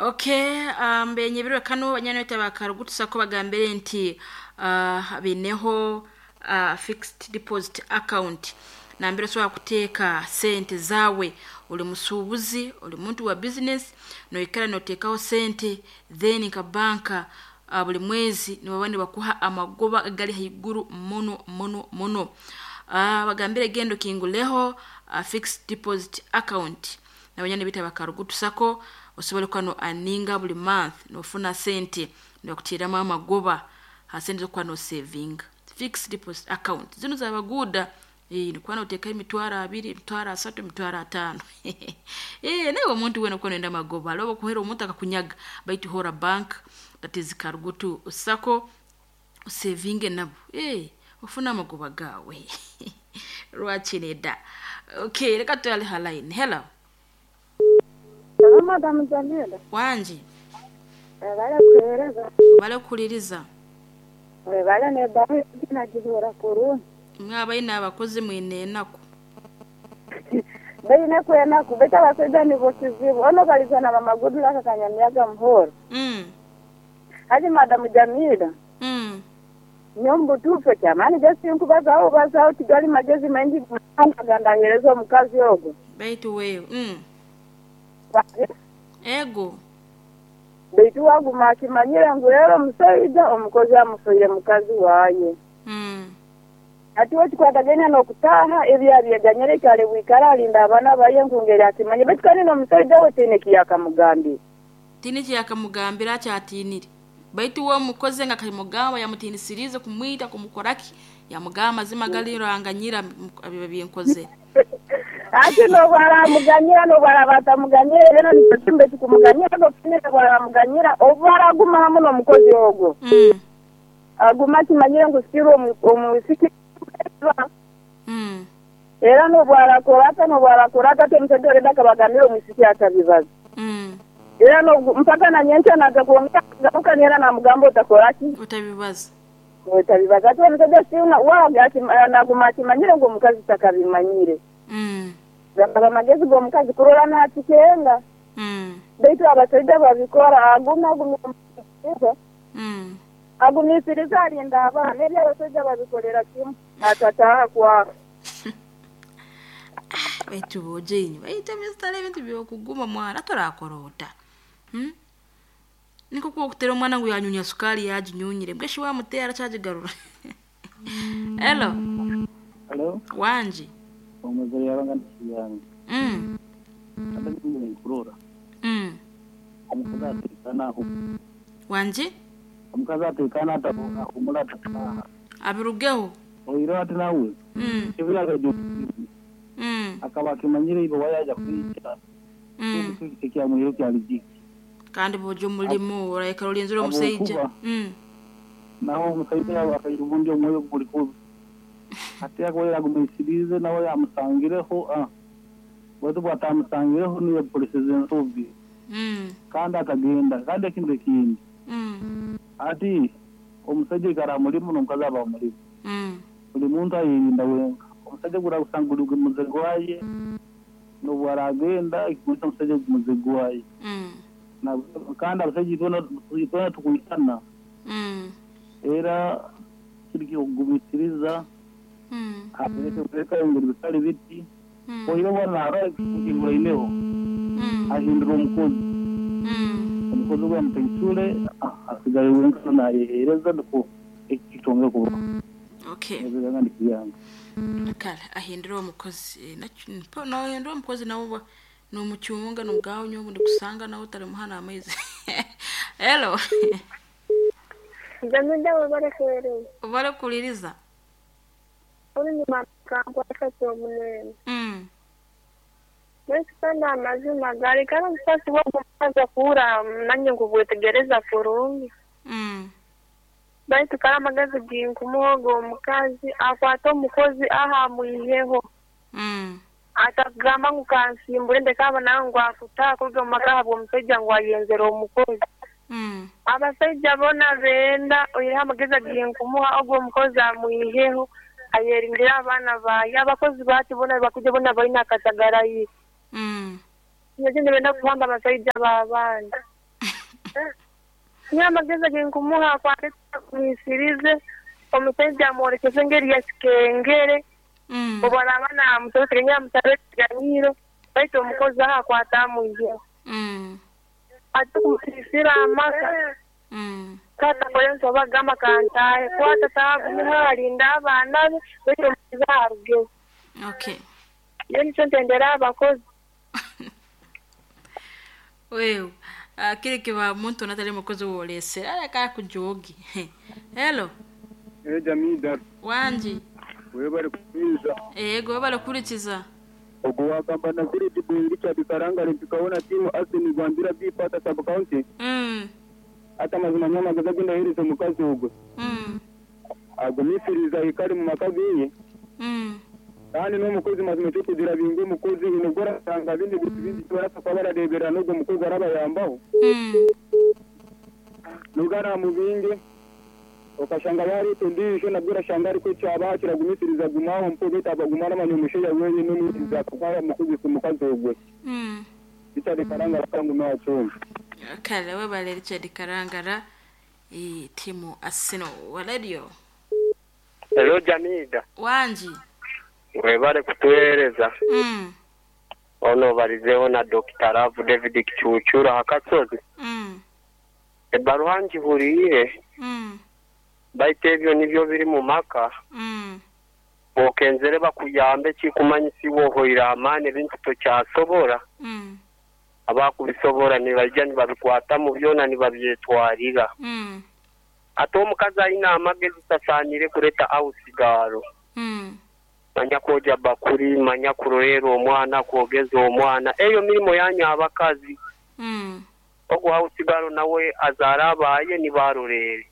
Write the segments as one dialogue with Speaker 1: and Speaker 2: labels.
Speaker 1: Okay, mbenyebirwe kano banyanweta bakarugutusako bagambire nti bineho fixed deposit account nambere osobola kuteeka sente zawe. Oli musuubuzi, oli muntu wa business, noikara noteekaho sente, then nka banka buli mwezi nibaba nibakuha amagoba agali haiguru muno muno muno. Bagambire genda okinguleho fixed deposit account nabanyani bita bakarugutusako osobole kuba no aninga buli month nofuna sente nibakuteramu amagoba ha sente zokuba no savinga. Fixed deposit account zinu zabaguuda, nikuba noteekaho 20,000, 30,000, 50,000. Nawe omuntu weena okuba noyenda amagoba, hariho obu omuntu akakunyaga, baitu hora bank that is Karugutu Sacco osevinge nabo, ofune amagoba gaawe. Lwaki nedda? Okay, leka tutwale ha line. Hello.
Speaker 2: Hello, Madam Jamila.
Speaker 1: Wangi.
Speaker 2: Webale kuheereza.
Speaker 1: Webale kuhuliriza.
Speaker 2: Webale n'ebbaruha egi nagihuura kurungi.
Speaker 1: Imwe abaine abakozi mwine enaku.
Speaker 2: Baine enaku baitu abasaija nibo kizibu. Ono baliza na mama Goodluck Kanyamyaga Muhoro. Haji Madam Jamila. Nyowe omu butuufu ekyamaani je sinkubazaho bubazaho tigali magezi maingi agandaheereza omukazi ogwo.
Speaker 1: Baitu wewe. Ego.
Speaker 2: Baitu waguma akimanyire ngu rero omusaija omukozi amufiire mukazi waye. Hati we kikwatagaine n'okutaaha ebi abyeganyire ekyali bwikara alinda abaana baye nkungeri akimanye baitu kandi n'omusaija we tiine ekiyakamugambire.
Speaker 1: Tiine ekiyakamugambire akyatiinire. Baitu we omukozi nga akimugamba yamutiinisiriize kumwita kumukoraki, yamugamba amazima gali ranganyira ebi binkozere.
Speaker 2: Hati n'obu aramuganyira n'obu araba atamuganyira rero nikyo kimu baitu kumuganyira n'okutinira obu aramuganyira obu araguma hamu n'omukozi ogwo. Aguma akimanyire ngu sikirwe omwisiki. Era n'obu arakora ata n'obu arakora ata ati omusaija oredi akabagambira omwisiki atabibaza. Era n'obu mpaka na nyenkya naija kwongera kugaruka era namugamba otakora ki?
Speaker 1: Otabibaza.
Speaker 2: Otabibaza. Ati omusaija siuna naguma akimanyire ngu omukazi takabimanyire. Gakaba amagezi g'omukazi kurora nakikenga. Baitu abasaija babikora aguma agumisiriza. Agumisiriza alinda abaana. Ebi abasaija babikolera kimu atataaha kwabo.
Speaker 1: Baitu bojo inywe baitu ebyesitale ebintu byokuguma mwana torakora ota. Niko kwokutera omwana ngu yanyunya sukari yaginyunyire mbweshi wamutera akyagigarura. Hello.
Speaker 3: Hello.
Speaker 1: Wangi.
Speaker 3: Omuzire yabanga yange. Nkurora. Omukazi atekana.
Speaker 1: Wangi?
Speaker 3: Omukazi atekana atahumura atataha.
Speaker 1: Abirugeho.
Speaker 3: Oiro ati nawe. Kibira kajo. Akaba akimanyire ibo wayaja kwica. Ekyamuhiro kyalijiki.
Speaker 1: Kandi bojo omulimu oraikara olinzire omusaija.
Speaker 3: Naho omusaija akaira obundi omwoyo guri kubi. Ati akoyera agumisirize nawe yamusangireho bwatu bwatamusangireho niyo polisi zensobi. Kandi akagenda kandi ekintu ekindi. Ati omusaija ikara mulimu n'omukazi aba mulimu. Buli muntu ayirinda wenka. Omusaija gura kusanga uri muzego waye n'obu aragenda ikumisa omusaija muzego waye. Na kandi abasaija itwena tukuitana. Era kiri kugumisiriza. Abereke engeri bitali biti. Oiro bwana ara kinguraineho. Ahindura omukozi. Omukozi gwa mutaisule asigaye wenka nayehereza niko ekitonge kuba.
Speaker 1: Okay. Kale ahindura omukozi no ahindura omukozi nawe nomucyunga nomugabo nyobu ndikusanga nawe utari muhana amaizi. Hello.
Speaker 4: Jamida wabare kuhereza.
Speaker 1: Wabare kuliriza.
Speaker 4: Uri ni mama kwa munene. Mwesi amazima gari kana msasi wakumaza kuura nanye ngubwetegereza kurungi. Baitu kala amagezi ginkumuhogo omukazi akwata omukozi aha mwiheho. Atagamba ngu kansimbure ndeka nawe ngu akutaha kuruga omu maka ahabw'omushaija ngu ayenzera omukozi. Abasaija boona benda oihireho amagezi aginkumuha ogwo omukozi amwiheho ayerindira abaana baye. Abakozi bati boona bakuja boona baine akatagarayi. Nyowe benda kuhamba abasaija b'abaana. Niyo amagezi genkumuha akwate kumwisirize omusajja amworekeze engeri ya kikengere. Obu araaba naamusaba nyamusaba ekiganiro baitu omukozi aho akwata amwiheho. Ate kumusisira amaka. Kata kolenso bagamba kantahe kwata taagumiho alinda abaana be baitu omukozi arugeho.
Speaker 1: Okay.
Speaker 4: Yo nikyo ntendera abakozi.
Speaker 1: Wewe kile kiba muntu natali mukozi wolese ala ka kujogi. Hello.
Speaker 5: Jamida.
Speaker 1: Wanji.
Speaker 5: Wewe bari kuiza.
Speaker 1: Ego bari kurikiza.
Speaker 5: Ogo wagamba na ziri dibu Richard Karanga tukaona timu Arsenal Gwandira bipata sub county. Hata mazima nyama gazagenda hirizo mukazi ogwe. Agumisiriza ikari mu makazi. Kandi no mukozi mazima cyo kugira bingo mukozi inogora tanga bindi bindi barasa kwa bararebera n'ubwo mukozi arabayambaho. Nugara mu binge okashanga yari tundisho nabwira shangari ko cyaba kiragumisiriza gumaho mpo beta bagumana manyomushe ya wewe n'umwiza kwa mukozi ku mukazi ogwe. Richard Karangara kangu nacho.
Speaker 1: Kale we bale Richard Karangara timu Arsenal wa radio.
Speaker 6: Hello Jamida.
Speaker 1: Wanji.
Speaker 6: Webale kutueleza. Ono balizeho na Dr. Ravu David Kichuchura hakasozi. Ebaruha njihuriire. Baitu ebyo nibyo biri mu maka. Bokenzere bakuyambe kikumanyisibwa ohoira amaani ebintu tokyasobora. Abakubisobora nibajja nibabikwata mu byona nibabyetwarira. Ate omukazi ayina amagezi tasaanire kureeta awusigaalo. Manya koja bakuri, manya kurorera omwana, kwogeza omwana. Eyo mirimo yanyu abakazi. Ogwo awusigaalo nawe azaara abaye nibarorere.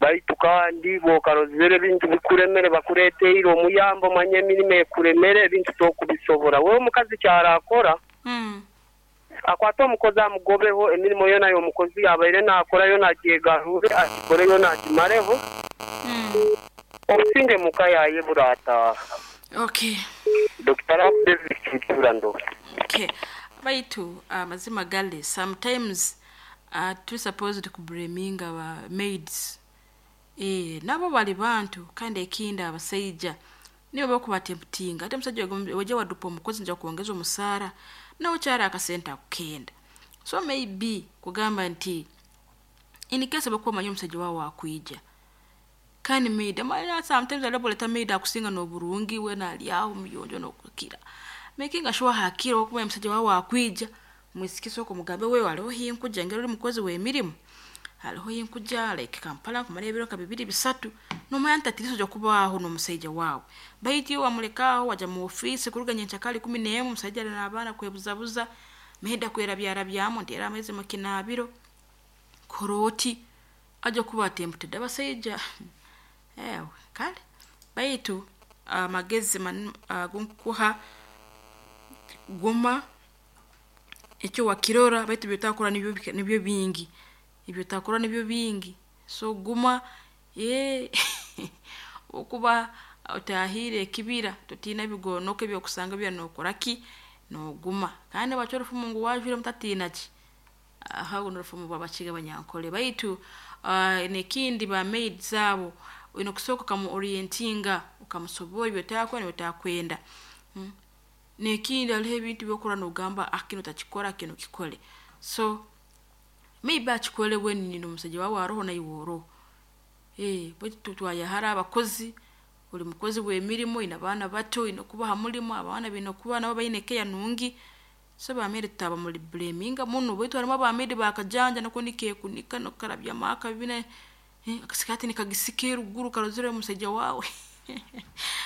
Speaker 6: Baitu kandi bokarozere ebintu bikuremere bakureteire omuyambo manye emirimo ekuremere ebintu tokubisobora. Wewe omukazi kyarakora. Akwata omukozi amugobeho emirimo yona y'omukozi yabaire nakora yona agyegarure agikore yona agimareho. Obusinge muka yaye burataha.
Speaker 1: Okay.
Speaker 6: Dr. David Kichurando.
Speaker 1: Okay. Baitu amazima gale sometimes tu supposed to blaminga aba maids. Nabo bali bantu kandi ekinda abasajja nibo bakubatemputinga ate musajja weje wadupa omukozi nja kuongeza omusaara nawe kyara akasenta kukenda. So maybe kugamba nti in case bakuba manyo omusajja wawe akuija kandi maid amala sometimes alaboleta maid akusinga n'oburungi we nalyaho muyonjo n'okukira making sure hakira okuba omusajja wawe akuija mwisikiso kumugambe wewe aliho hinkuja ngero uri mukozi w'emirimu hariho yinkuja like Kampala kumara ebiro ka bibiri bisatu nomanya ntatiriso jo kubaho n'omusajja wawe baiti wamulekaho waja mu office kuruganya nchakali 11 omusajja n'abaana kwebuzabuza meheda kwera byara byamo ndera amezi makinabiro koroti aje kuba tempted abasajja ewe kale baitu amagezi gunkuha guma ekyo wakirora baitu byotakora nibyo bingi ibyo takora nibyo bingi so guma okuba otahire kibira totina bigonoke byokusanga bya nokoraki no guma kandi bachorofu Mungu wajure mutatina ki aha unorufumu babakiga banyankole baitu nekindi ba maid zabo ino kusoko kamu orientinga ukamusobora ibyo takwa ni bitakwenda. Nekindi aliho ebintu byokora nogamba akino takikora kino kikole so maybe achikole weni n'omusajja wawe aroho na iworo bwe twayahara abakozi uri mukozi w'emirimo ina baana bato ino kubaha mulimo abaana bino kuba nabo bayine keya nungi so bamere taba muri blaminga muno bwe twarimo abamere bakajanja nako nike kunika no karabya maka bine akasikati nikagisike ruguru karozere omusajja wawe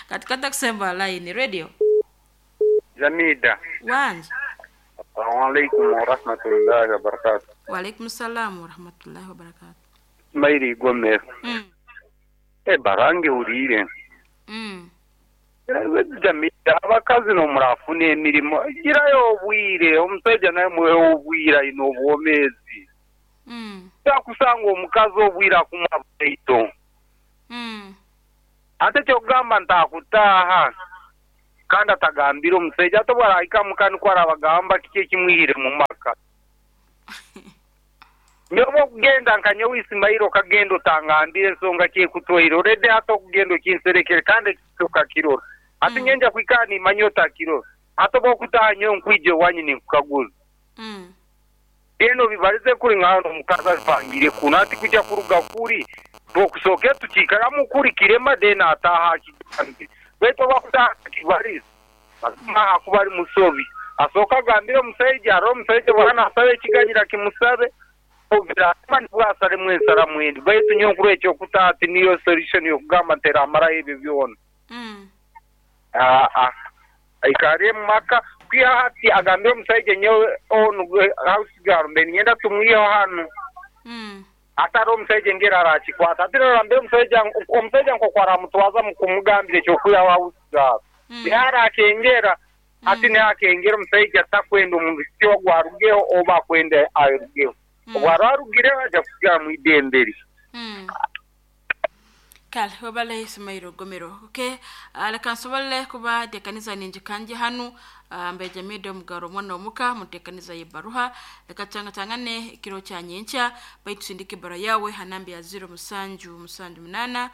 Speaker 1: katikata kusemba line radio
Speaker 7: Jamida.
Speaker 1: Wanji.
Speaker 7: Assalamu alaikum wa rahmatullahi wa barakatuh.
Speaker 1: Wa alaikum salam wa rahmatullahi wa barakatuh.
Speaker 7: Mairi Gomez. Barange urire. Jamida abakazi no murafuna emirimo girayo obwire omusajja naye muwe obwira ino obwomezi. Takusanga omukazi obwira kumwa baito. Ate kyogamba ntakutaha kandi atagambira omusajja atobwara ahika mukani kwara bagamba kiki ekimwihire mu maka. Nyoba okugenda nka nyowe Isimaili okagenda otangambire ensonga ki ekutwaire already hati okugenda okinserekere kandi ekyo okakirora. Hati nyowe nja kwikara nimanya otakirora. Hati obu okutaaha nyowe nkwija owanyu ninkukaguza. Then obibarize kuri nka hanu omukazi abipangire kunu hati kuja kuruga kuri twokusooke tukiikaramu kuri kirema then ataaha akigambe. Baitu obu akutaaha atakibarize mazima akuba ari musobi. Asooke agambire omusaija arore omusaija obu araba nasaba ekiganyiro akimusabe obu birarema nibwo asalemu ensaramu endi. Baitu nyowe nkurora ekyokutaaha tiniyo solution yokugamba nti eramaraho ebyo byona. Aa aikare omu maka kwiha hati agambire omusaija nyowe onu house girl mbe ninyenda tumwiheho hanu. Hati omusaija engeri arakikwata. Hati rora mbere omusaija omusaija nkoku aramutwaza mu kumugambira eky'okwihaho house girl. Niho arakengera. Hati niho akengera omusaija takwenda omwisiki ogu arugeho oba akwenda arugeho. Obu araba arugireho aja kusigara mu idembe lye.
Speaker 1: Kale webale Ismail Gomero. Okay, leka nsobole kuba ntekaniza ninjikanje hanu mbejamide omugaro omwana omuka mutekaniza yebaruha leka tangane ekiro kya nyenkya baitu sindika ebara yawe hanambi ya 0 7 7 8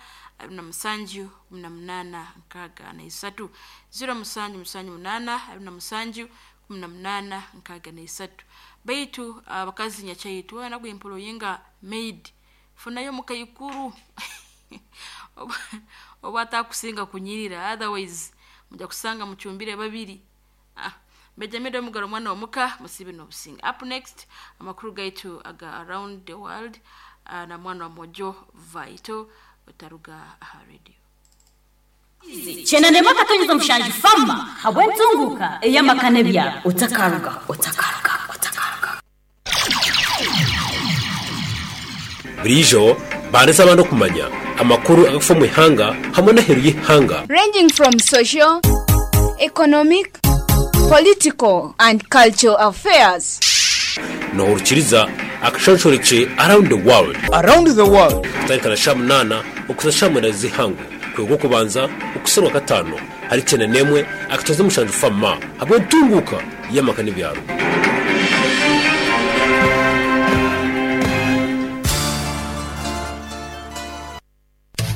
Speaker 1: 27 18 63 0 7 7 8 27 18 63 baitu abakazi nyakyaitu wana gwempolo yinga maid funayo mukaikuru oba atakusinga kunyirira otherwise muja kusanga mucumbire babiri. Mbejamide omugaro mwana omuka musibe n'obusinga. Up next amakuru gaitu aga around the world na mwana wa Mojo Vaito otaruga aha radio.
Speaker 8: Chenande makatonyeza mushanju fama habwentunguka eyamakane bya otakaruga otakaruga otakaruga.
Speaker 9: Burijo bandesa abantu kumanya amakuru agafa mu ihanga hamwe n'aheru y'ihanga,
Speaker 10: ranging from social, economic, political and cultural affairs.
Speaker 9: Nohurukiriza akashonshoreke around the world.
Speaker 11: Around the world.
Speaker 9: Kutarikana sha 8 okuza sha 8 z'ihangu kwego kubanza okuserwa 5 hari 91 akatoza mushanju fama habwe ntunguka y'amakane byaro.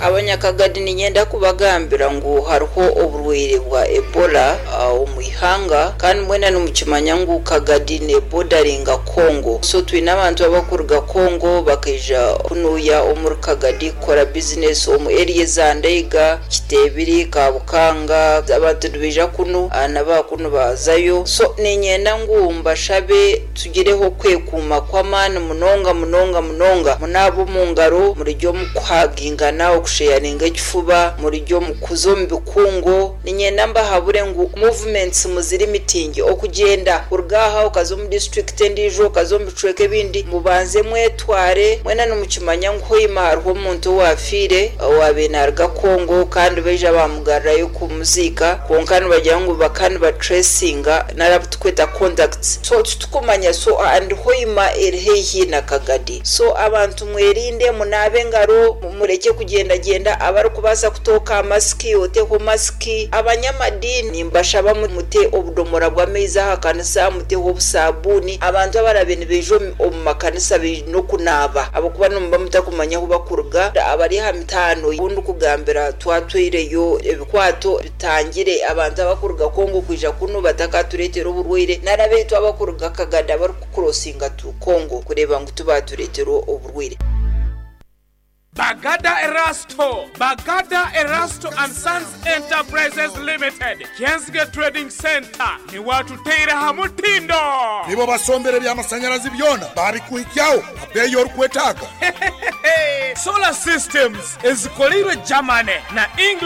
Speaker 12: Abanyakagadi ninyenda kubagambira ngu hariho oburwaire bwa Ebola omu ihanga kandi mwena nimukimanya ngu Kagadi ne bordering'a Congo, so twine abantu abakuruga Congo bakaija kunuya omuri Kagadi kukora business omu area za Ndeiga, Kitebiri, Kabukanga. Abantu nibaija kunu nabakunu bazayo, so ninyenda ngu mbashabe tugireho kwekuuma kw'amaani munonga munonga munonga, munaaba omu ngaro, murijya omu kuhagingana, okusheyaringa ekifuba, murijya omu kuza omu bikungo. Ninyenda mbahabure ngu movements muziri mitingi okugenda kuruga aha okaza omu district endiijo okaza omu bicweka ebindi, mubanze mwetware. Mwena nimukimanya ngu hoima hariho omuntu owafiire owabaire naruga Congo kandi baija bamugarurayo kumuziika, kwonka nibagira ngu bakaba nibatracinga narabu tukweta contacts, so titukumanya. So and hoima eri haihi na Kagadi, so abantu mwerinde, munaabe engaro, mureke kugenda genda, abarikubaasa kutooka masiki oteho masiki. Abanyamadini mbashaba mute obudomora bw'amaizi aha kanisa, muteho obusabuni. Abantu abarabe nibaija omu makanisa baine okunaaba ahabw'okuba nimuba mutakumanya ahu bakuruga. Abari aha mitaano obundi kugambira twatwireyo ebikwato bitangire abantu abakuruga Congo kwija kunu batakatureetera oburwaire, narabeitu abakuruga Kagadi abarikukurosinga tu Congo kureeba ngu tubatureetera oburwaire.
Speaker 13: Bagada Erasto, Bagada Erasto and Sons Enterprises Limited, Kyenzige Trading Center, ni watuteira hamutindo.
Speaker 14: Nibo basombere by'amasanyalazi byona babikuhikyaho abeyo orikwetaaga.
Speaker 13: Solar systems ezikoleirwe Germany na England.